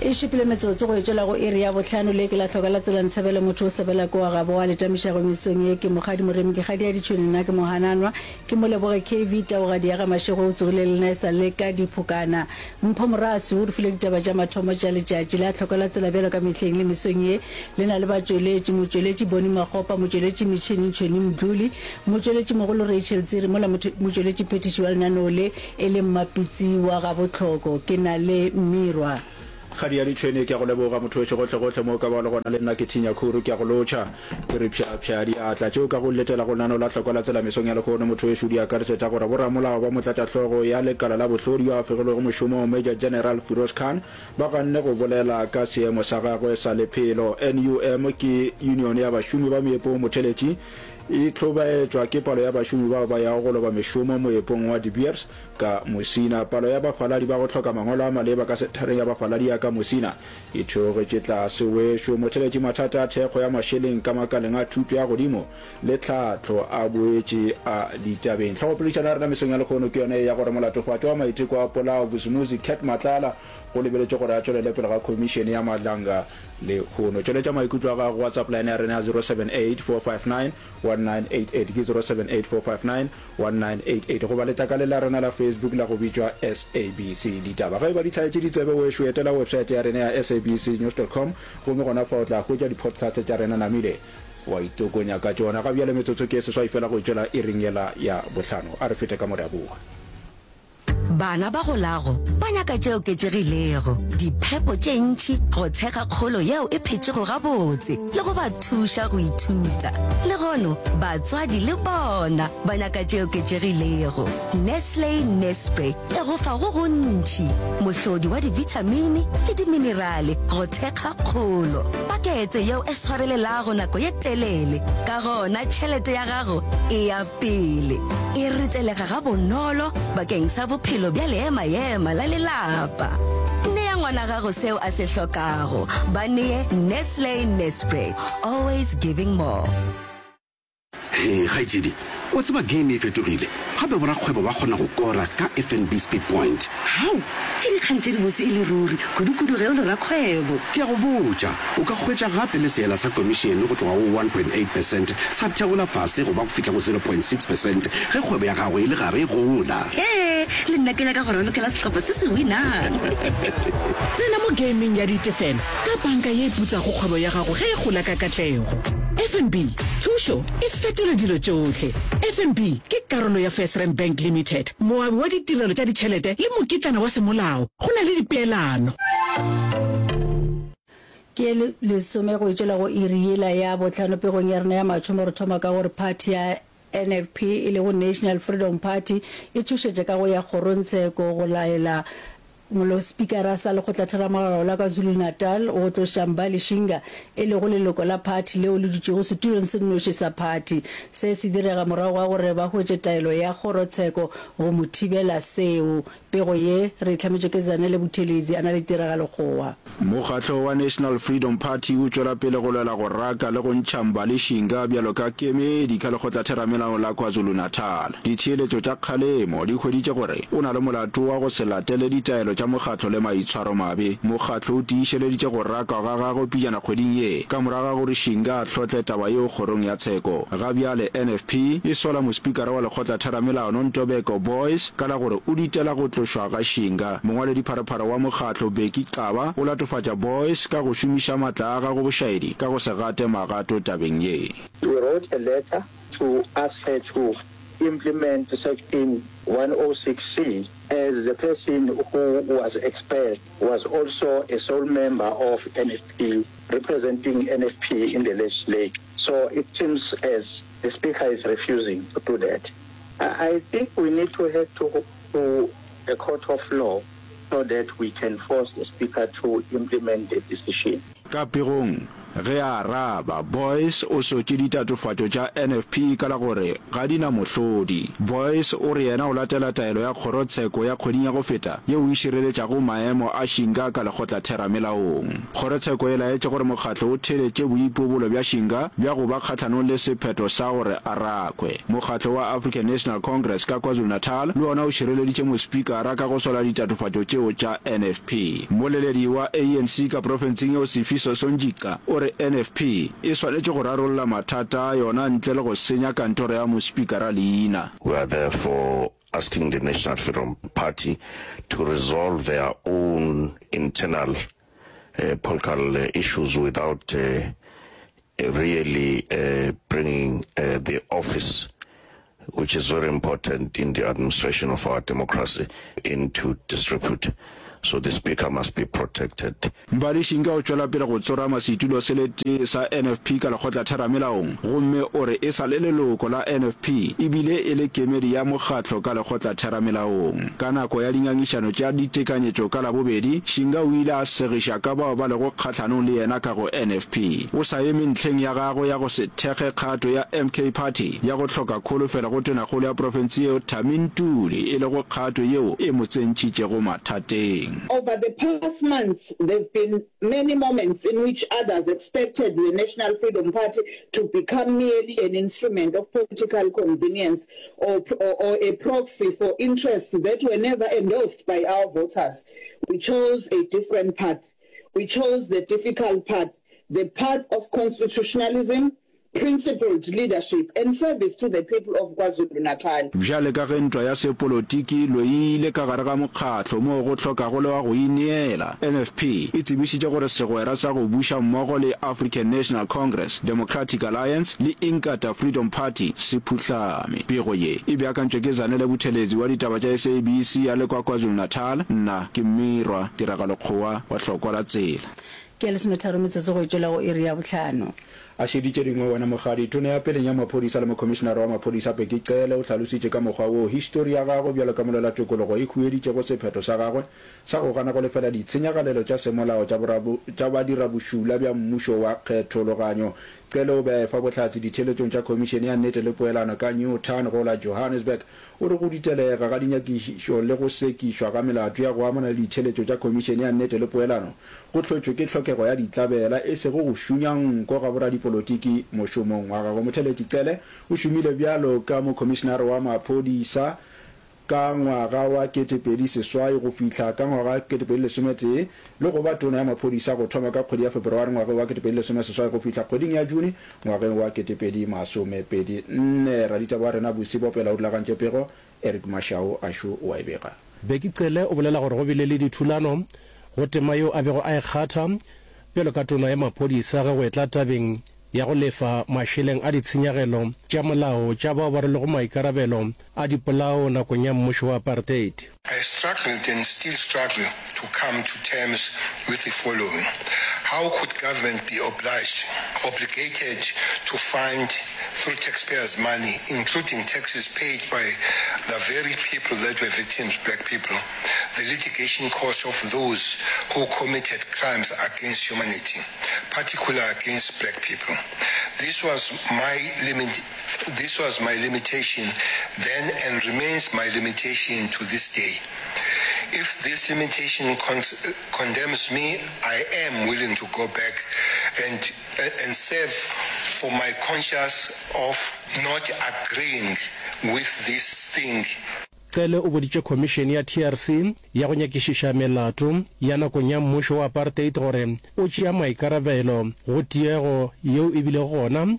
E šupile metsotso go e tšwela go iri ya bohlano. Le ke la hloka la tsela ntshebele motho o sebela ke wa gabo wa letamišago mesong ye ke Mokgadi Moremi ke kgadi ya ditšhwene nna ke Mohananwa ke Moleboge KV Taugadi ya ga Mashego o tsogile le nna e sa le ka diphokana Mpho Moraswi o re file ditaba tša mathomo tša letšatši la hloka la tsela bjalo ka mehleng le mesong ye le na le batšweletši motšweletši Bonnie Makgopa motšweletši metšhini Ntšhweni Mdluli motšweletši mogolo Rachel Tsiri mola motšweletši phethiši wa lenaneo le E le Mmapitsi wa gabohloko, ke na le Mmirwa. Kgadi ya ditšhwene, ke a go leboga motho wešo gohlegohle mo o ka bago le gona le nna ke thinya khuru ke a go lotšha. Ke re pša pša diatla tšeo ka go letela go lenaneo la hlokwa la tsela mesong ya lehono motho wešo di akaretša tša gore boramolao ba motlatšahlogo ya lekala la bohlodi yo a fegilwego mošomong Major General Firoz Khan ba ganne go bolela ka seemo sa gagwe sa lephelo. NUM ke union ya bašomi ba meepong motheletši E hlobaetšwa ke palo ya bašomi bao ba yago go loba mešomo moepong wa De Beers ka Musina. Palo ya bafaladi ba go hloka mangwalo a maleba ka senthareng ya bafaladi ya ka Musina e theogetše tlase. Wešo motheletši mathata a thekgo ya mašeleng ka makaleng a thuto ya godimo le tlhahlo a boetše a ditabeng. Hlogopoledišano ya rena mesong ya lehono ke yona ye ya gore molatofatšwa wa maiteko a polao Vusumuzi Cat Matlala go lebeletšwe gore a tšwelele pele ga khomišene ya Madlanga Lehono. Tšweletša maikutlo a gago go WhatsApp line ya rena ya 0784591988 ke 0784591988 goba letlakaleng la rena la Facebook la go bitšwa SABC Ditaba. Ge e ba di hlaetše ditsebe wešo, etela website ya rena ya sabcnews.com gomme gona fa o tla hwetša di-podcast tša rena namile wa itokonya ka tšona. Ga bjale metsotso ke e seswai fela go e tšwela iring yela ya bohlano. A re fete ka mo re a boa. Bana ba golago ba nyaka tše oketšegilego, diphepo tše ntši go thekga kgolo yeo e phetšego gabotse le go ba thuša go ithuta. Lehono, batswadi le bona ba nyaka tše oketšegilego. Nestle Nespre e go fa go gontši, mohlodi wa dibithamini le diminerale go thekga kgolo. Pakete yeo e swarelelago nako ye telele, ka gona tšhelete ya gago e ya Pele e retelega gabonolo bakeng sa bophelo bja leema-ema la lelapa. Nea ngwana gago seo a se hlokago. Ba nee Nestle Nespre, always giving more. Hee kgaetšedi, wa tseba game e fetogile, gape borakgwebo ba kgona go kora ka FNB Speed Point. Hao! Ke dikgang tše dibotse e le ruri, kudu-kudu ge o le rakgwebo. Ke a go botša, o ka hwetša gape le seela sa komišene go tloga go 1.8 percent sa theola fase go ba go fihla go 0.6 percent ge kgwebo ya gago e le gare e gola. Hee, le nna ke nyaka go ralokela sehlopha se se winang. Tsena mo gameng ya ditefelo ka banka ye e putsago kgwebo ya gago ge e gola ka katlego. FNB, thušo e fetola dilo tšohle. FNB ke karolo ya FirstRand Bank Limited, moabi wa ditirelo tša ditšhelete le mokitlana wa semolao. Go na le dipeelano. Ke lesome go etšwela go iri yela ya bohlano pegong ya rena ya mathomo re thoma ka gore phathi ya NFP e lego National Freedom Party e tšhošetša ka go ya kgorongtsheko go laela Molosepikara sa Lekgotlatheramolao la KwaZulu-Natal go tloša Mbali Shinga e lego leloko la phathi leo le dutšego setulong se nnoši sa phathi. Se se direga morago ga gore ba hwetše taelo ya kgorotsheko go mo thibela seo. Pego ye re e hlametšwe ke Zanele Buthelezi a na le tiragalo kgowa. Mokgatlo wa National Freedom Party o tšwela pele go lwela go raka le go ntšha Mbali Shinga bjalo ka kemedi ka Lekgotlatheramelao la KwaZulu-Natal. Ditheeletšo tša kgalemo di hweditše gore o na le molato wa go se latele ditaelo tša mokgatlo le maitshwaromabe. Mokgatlo o tiišeleditše go rakwa ga gagwe pejana kgweding ye ka morago ga gore Shinga a hlotle taba yeo kgorong ya tsheko. Ga bjale NFP e sola mospikara wa lekgotlatheramelao Nontobeko Boyce ka la gore o ditela go tlošwa ga Shinga. Mongwaledipharephare wa mokgatlo Bheki Xaba o latofatša Boyce ka go šomiša matla a gagwe bošaedi ka go se gate magato tabeng ye. We wrote a letter to ask her to implement section 106C as the person who was expelled was also a sole member of NFP representing NFP in the legislature. So it seems as the speaker is refusing to do that. I, I think we need to head to, to a court of law so that we can force the speaker to implement the decision. Ka pegong. Ge a araba, Boyce o sotše ditatofatšo tša NFP ka la gore ga di na mohlodi. Boyce o re yena o latela taelo ya kgorotsheko ya kgweding ya go feta yeo e šireletšago maemo a Shinga ka lekgotlatheramelaong. Kgorotsheko e laetše gore mokgatlo o theeletše boipobolo bja Shinga bja go ba kgahlanong le sephetho sa gore a rakwe. Mokgatlo wa African National Congress ka KwaZulu-Natal le wona o šireleditše mospikara ka go sola ditatofatšo tšeo tša NFP. Mmoleledi wa ANC ka profenseng yeo Sifiso Sonjica o re NFP e swanetše go rarolla mathata a yona ntle le go senya kantoro ya mospikara leina. We are therefore asking the National Freedom Party to resolve their own internal political issues without really bringing the office, which is very important in the administration of our democracy, into disrepute. So the speaker must be protected. Mbali Shinga o tšwela pele go tsorama setulo se le tee sa NFP ka lekgotlatheramelaong gomme o re e sa le leloko la NFP e bile e le kemedi ya mokgatlo ka lekgotlatheramelaong. Ka nako ya dingangišano tša ditekanyetšo ka Labobedi, Shinga o ile a segiša ka bao ba lego kgahlanong le yena ka go NFP. O sa eme ntlheng ya gagwe ya go se thekge kgato ya MK Party ya go hloka kholofelo go Tonakgolo ya profense yeo Thami Ntuli e lego kgato yeo e mo tsentšhitšego mathateng. Over the past months, there've been many moments in which others expected the National Freedom Party to become merely an instrument of political convenience or, or, or a proxy for interests that were never endorsed by our voters. We chose a different path. We chose the difficult path, the path of constitutionalism, principled leadership and service to the people of KwaZulu-Natal. Bjale ka ge ntwa ya sepolotiki e loile ka gare ga mokgatlo moo go hlokago le wa go ineela, NFP e tsebišitše gore segwera sa go buša mmogo le African National Congress, Democratic Alliance le Inkatha Freedom Party se phuhlame. Pego ye e beakantšwe ke Zanele Buthelezi wa ditaba tša SABC a le kwa KwaZulu-Natal. Nna ke Mmirwa Tiragalo Kgowa wa Hlokwa la Tsela. Ke ya lesometharo metsotso go e tšwela go iri ya bohlano. A šeditše dingwe wena Mokgadi. Tona ya peleng ya maphodisa le mokhomišenare wa maphodisa Bheki Cele o hlalositše ka mokgwa woo histori ya gagwe bjalo ka molwelatokologo e hueditšego sephetho sa gagwe sa go gana go lefela ditshenyagalelo tša semolao tša tša badirabošula bja mmušo wa kgethologanyo. Cele o be a efa bohlatse ditheeletšong tša Khomišene ya Nnete le Poelano ka Newtown go la Johannesburg. O re go ditelega ga dinyakišišo le go sekišwa ga melato ya go amana le ditheeletšo tša Khomišene ya Nnete le Poelano go hlotšwe ke tlhokego ya ditlabela e sego go šunya nko ga boradipolotiki mošomong wa gagwe. Motheeletši Cele o šomile bjalo ka mokhomišenare wa maphodisa ka ngwaga wa 2008 go fihla ka ngwaga wa 2011 le go ba tona ya maphodisa go thoma ka kgwedi ya Febereware ngwageng wa 2018 go fihla kgweding ya June ngwageng wa 2024. Raditaba wa rena Busi Bopela o rulagantše pego, Eric Mashau Ashu o a e bega. Bheki Cele o bolela gore go bile le dithulano go tema yeo a bego a e kgatha bjalo ka tona ya maphodisa ge go etla tabeng ya go lefa mašeleng a ditshenyagelo tša molao tša bao ba rwelego maikarabelo a dipolao nakong ya mmušo wa apartheid. I struggled and still struggle to come to terms with the following, How could government be obliged, obligated to fund through taxpayers' money, including taxes paid by the very people that were victims, black people, the litigation costs of those who committed crimes against humanity, particularly against black people? This was my limit, this was my limitation then and remains my limitation to this day. If this limitation con condemns me, I am willing to go back and, and serve for my conscience of not agreeing with this thing. Cele o boditše khomišene ya TRC ya go nyakišiša melato ya nakong ya mmušo wa apartheid gore o tšea maikarabelo go tiego yeo e bilego gona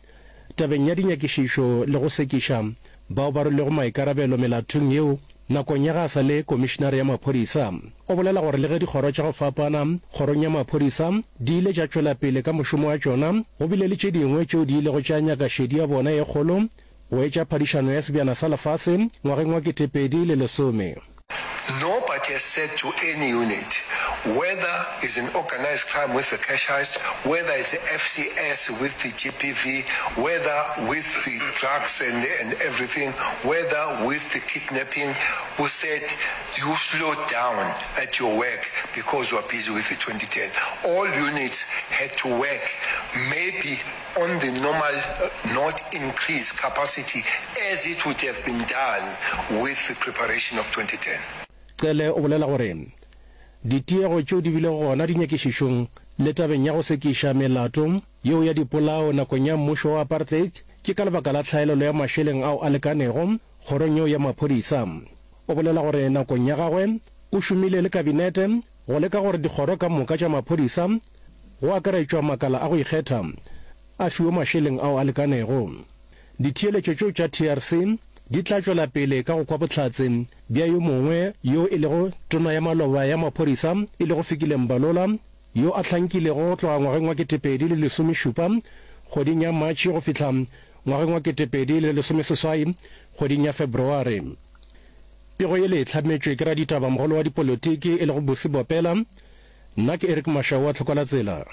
tabeng ya dinyakišišo le go sekiša bao ba rwelego maikarabelo melatong yeo nakong ya ge a sa le komišenare ya maphodisa. O bolela gore le ge dikgoro tša go fapana kgorong ya maphodisa di ile tša tšwela pele ka mošomo wa tšona, go bile le tše dingwe tšeo di ilego tša nyaka šedi ya bona e kgolo go etša phadišano ya Sebjana sa Lefase ngwageng wa 2010. Nobody has said to any unit, whether it's an organised crime with the cash heist, whether it's the FCS with the GBV, whether with the drugs and, and everything, whether with the kidnapping, who said you slow down at your work because you are busy with the 2010. All units had to work. maybe on the normal not increase capacity as it would have been done with the preparation of 2010. Cele o bolela gore ditiego tšeo di bilego gona dinyakišišong le tabeng ya go sekiša melato yeo ya dipolao nakong ya mmušo wa apartheid ke ka lebaka la tlhaelelo ya mašeleng ao a lekanego kgorong yeo ya maphodisa. O bolela gore nakong ya gagwe o šomile le kabinete go leka gore dikgoro ka moka tša maphodisa go akaretšwa makala a go ikgetha a fiwe mašeleng ao a lekanego. Ditheeletšo tšeo tša TRC di tla tšwela pele ka go kwa bohlatse bja yo mongwe yo e lego tona ya maloba ya maphodisa e lego Fikile Mbalula yo a hlankilego go tloga ngwageng wa 2017 kgweding ya Matšhe go fihla ngwageng wa 2018 kgweding ya Febreware. Pego yele e hlametšwe ke raditaba mogolo wa dipolotiki e lego Busi Bopela. Nna ke Eric Mashau wa Tlhokwalatsela.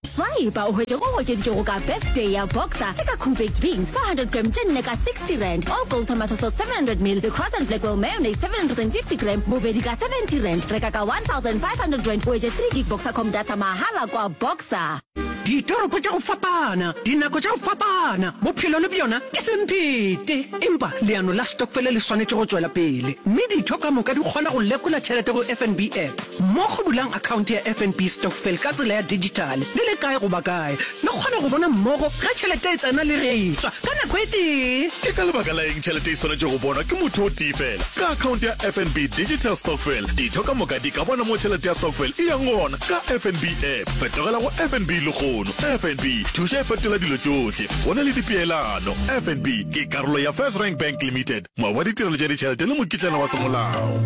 Swipa o hwetše go okeditšwego ka Birthday ya Boxer le ka Koo Baked Beans 400 gram tše nne ka 60 rand, All Gold Tomato Sauce 700 ml le Cross and Blackwell Mayonnaise 750 gram bobedi ka 70 rand. Reka ka 1500 rand o hwetše 3 gig Boxercom data mahala kwa Boxer. Ditoropo tša go fapana, dinako tša go fapana, bophelo le bjona ke semphete. Empa leano la stokfele le swanetše go tšwela pele, mme ditho ka moka di kgona go lekola tšhelete go FNB app. Mmogo bulang akhaonte ya FNB Stokvel ka tsela ya dijithale le le kae goba kae. Le kgona go bona mmogo ge tšhelete e tsena le ge e tšwa ka nako e tee. Ke ka lebaka la eng tšhelete e swanetše go bonwa ke motho o tee fela? Ka akhaonte ya FNB Digital Stokvel, ditho ka moka di ka bona mo tšhelete ya stokvel e yang gona ka FNB app. Fetogela go FNB lehono. FNB, thuša e fetola dilo tšohle. Go na le dipeelano. FNB ke karolo ya FirstRand Bank Limited, moabi wa ditirelo tša ditšhelete le mokitlana wa semolao.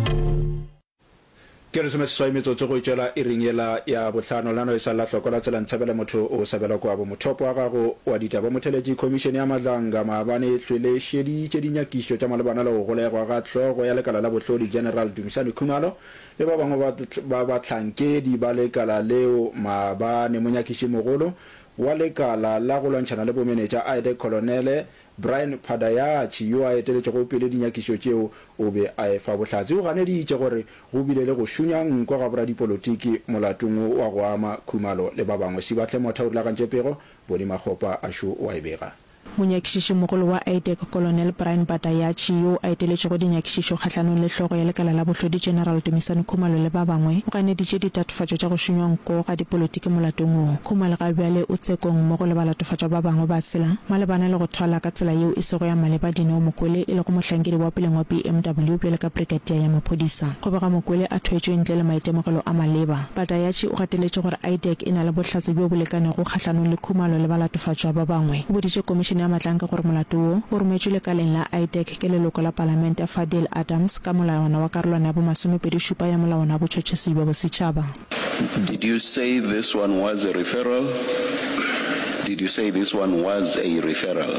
Ke lesomeseswai metsotso go itšwela iring yela ya bohlano. Lenaneo e sa la hloko la tsela Ntshabele motho o sabela kwabo. Mothopo wa gago wa ditaba Motheletši Khomišene ya Madlanga maabane e hlwele šeditše dinyakišo tša malebana le go golegwa ga hlogo ya lekala la bohlodi General Dumisani Khumalo le ba bangwe ba ba bahlankedi ba lekala leo maabane. Monyakišimogolo wa lekala la go lwantšhana le bomenetša IDAC Kolonele Brian Padayachy yo a eteletšego pele dinyakišo tšeo o be a efa bohlatse. O ganeditše gore go bile le go šunya nko ga boradipolotiki molatong wo wa go ama Khumalo le ba bangwe. Sibahle Motha o rulagantše pego, Boni Makgopa a šo o a e bega. Monyakišišimogolo wa IDAC Kolonel Brian Padayachy yoo a eteletšego dinyakišišo kgahlanong le hlogo ya lekala la bohlodi General Dumisani Khumalo le ba bangwe, o ganeditše ditatofatšo tša go šunywa nko ga dipolotiki molatong wo. Khumalo ga bjale o tshekong mmogo le balatofatšwa ba bangwe ba tshela malebana le go thwala ka tsela yeo e sego ya maleba Dineo Mokwele e lego mohlankedi wa peleng wa BMW bjalo ka Brigadier ya maphodisa. Go bega Mokwele a thwetšwe ntle le maitemogelo a maleba. Padayachy o gateletše gore IDAC e na le bohlatse bjo bo lekanego kgahlanong le Khumalo le balatofatšwa ba bangwe. O boditše Komišene ya Matlanka gore molato wo o rometšwe lekaleng la IDAC ke leloko la Palamente Fadiel Adams ka molawana wa karolwana ya bomasomepedishupa ya Molawana wa Botšhotšhisi bja Bosetšhaba. Did you say this one was a referral? Did you say this one was a referral?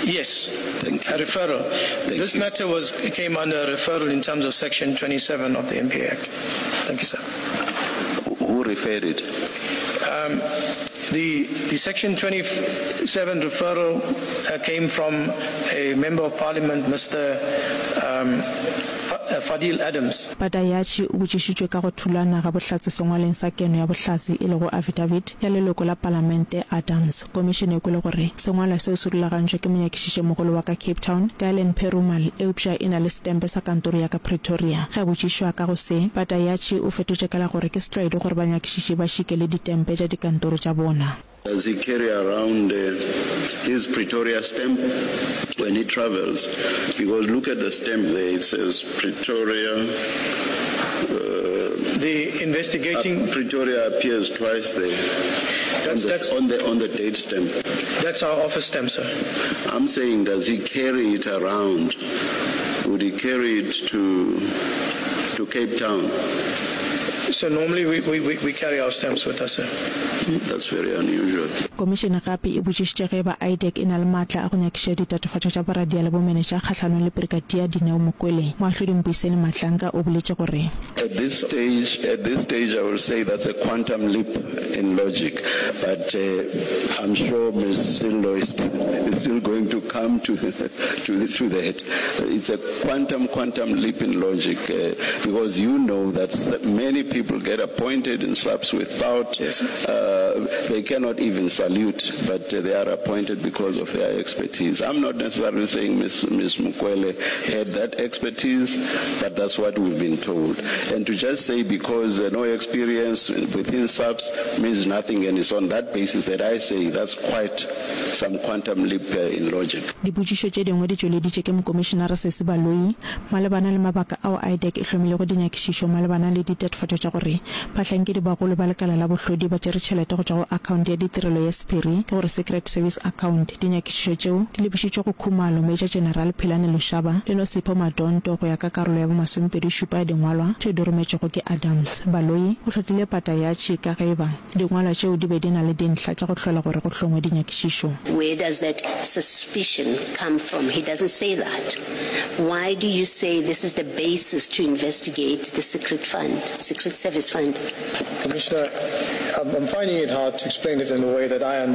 Yes. Thank you. A referral. Thank this you. matter was came under a referral in terms of section 27 of the MPA Act. Thank you, sir. Who referred it? Um, the, the section 27 referral uh, came from a member of parliament, Mr. Um, Fadiel Adams. Padayachy o botšišitšwe ka go thulana ga bohlatse sengwaleng sa keno ya bohlatse e lego affidavit ya leloko la palamente Adams. Komišene e kwele gore sengwalwa seo se rulagantšwe ke monyakišišemogolo wa ka Cape Town, Dylan Perumal, eupša e na le setempe sa kantoro ya ka Pretoria. Ge a botšišwa ka go se, Padayachy o fetotše ka la gore ke setlwaedi gore banyakišiši ba šikele ditempe tša dikantoro tša bona. Does he carry around his Pretoria stamp when he travels? Because look at the stamp there, it says Pretoria. The investigating. Pretoria appears twice there. That's, on, the, that's, on the on the date stamp. That's our office stamp, sir. I'm saying, does he carry it around? Would he carry it to to Cape Town? So normally we, we, we, we carry our stamps with us, sir. That's very unusual. Komišene gape e botšišitše ge eba IDAC e na le maatla a go nyakišiša ditatofatšo tša boradia le bomenetša kgahlanong le Brigadier Dineo Mokwele. Moahlodi Mbuyiseni Madlanga o boletše gore. At this stage, at this stage I will say that's a quantum leap in logic, but I'm sure Ms Sello is is still going to come to to to that. It's a quantum quantum leap in logic because you know that many people. People get appointed in SAPS without, uh, they cannot even salute, but they are appointed because of their expertise. I'm not necessarily saying Ms. Ms. Mukwele had that expertise, but that's what we've been told. And to just say because uh, no experience within SAPS means nothing, and it's on that basis that I say that's quite some quantum leap uh, in logic. Dipotšišo tše dingwe di tšweleditše ke Mokomišenare Sesi Baloyi malebana le mabaka ao IDAC e hlomilego dinyakišišo malebana le ditatofatšo tša gore bahlankedi bagolo ba lekala la bohlodi ba tšere tšhelete go tšwa go akhaonte ya ditirelo ya sephiri, ke gore Secret Service Account. Dinyakišišo tšeo di lebišitšwe go Khumalo, Major General Philani Lushaba le Nosipho Madonto go ya ka karolo ya bomasomepedi-šupa ya dingwalwa tšeo di rometšwego ke Adams. Baloyi o hlotlile pata ya tšhika ge e ba Dingwalwa tšeo di be di na le dintlha tša go hlola gore go hlongwe dinyakišišo. Where does that suspicion come from? He doesn't say that. Why do you say this is the basis to investigate the secret fund, secret service fund? Commissioner, I'm, I'm finding it hard to explain it in a way that I understand.